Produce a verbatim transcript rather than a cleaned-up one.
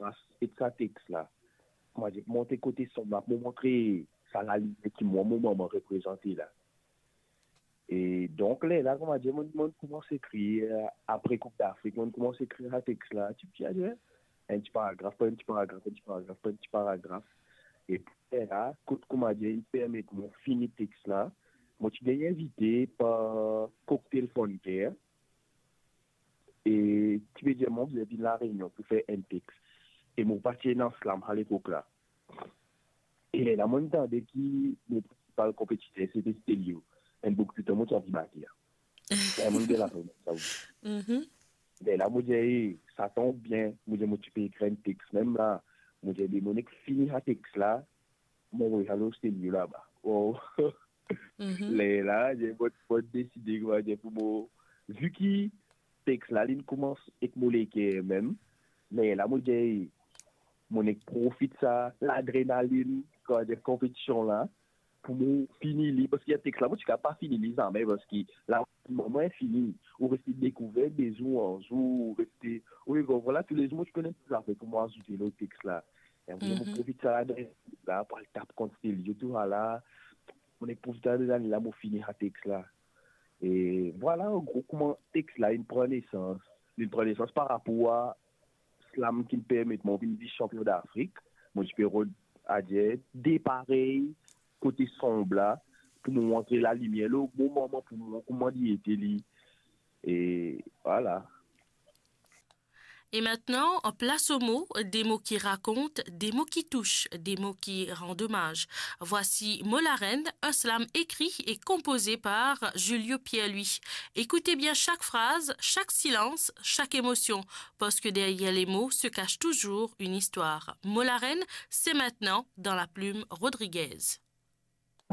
konpas et sa text la. Kouma dir, monte kote sonb la, pou montre sa lalime ki mwa, mo mama reprezante la. E donk, lerla, kouma dir, mo, mo koumans ekrir, apre Koup Dafrik, mo koumans ekrir sa text la, ti, ti, ti, enn ti paragraf, par enn ti paragraf, enn ti paragraf, par enn ti paragraf. E lerla, kot, kouma dir, inn permet mwa fini text la, mo ti gagn invite par Cocktail Fun Care, e ti pe dir mwa, mo bizin vinn La Réunion pou fer enn text. E mo pa ti ena slam alepok la. E lerla, mo tande ki mo prinsipal konpetiter, se te Stelio. Enn boug tou tan, mo ti anvi bat li. Lerla, mo dir, "Lafer, sa ou." Mhm. Lerla, mo dir, "Ey, sa tonm bien." Mo dir, "Mo ti pe ekrir enn text mem la." Mo dir, "Be, mo nek fini sa text la, mo avoy sa lor Stelio laba." Oh. Mhm. Lerla, mo, mo deside, kouma dir, pou mo, vi ki text la, linn koumans ek mo leker mem, lerla, mo dir, "Mo nek profit sa ladrenalinn, kouma dir, konpetision la, pou mo fini li." Parski sa text la, mo ti kapav pa fini li zame, parski la, mo fini, ou reste dekouver de zour an zour, ou reste, ou konpran, tou le zour, mo ti konn enn ti zafer pou mo azoute lor text la. E mo, mo Mhm. profit sa ladrenalinn la, pou al tap kont Stelio, tou sa la, mo nek profit sa ladrenalinn la, mo fini sa text la. E vwala, an gro, kouma text la inn pran nesans. Linn pran nesans par rapor a slam ki permet mwa vinn vis-sanpion Dafrik. Mo ti pe rod, adir, de parey kote sonb la, pou mo montre lalimier lor mo mama, pou mo kouma li ete li. E vwala. Et maintenant, place aux mots, des mots qui racontent, des mots qui touchent, des mots qui rendent hommage. Voici Mo Larenn, un slam écrit et composé par Julio Pierre-Louis. Écoutez bien chaque phrase, chaque silence, chaque émotion, parce que derrière les mots se cache toujours une histoire. Mo Larenn, c'est maintenant dans La Plume Rodriguez.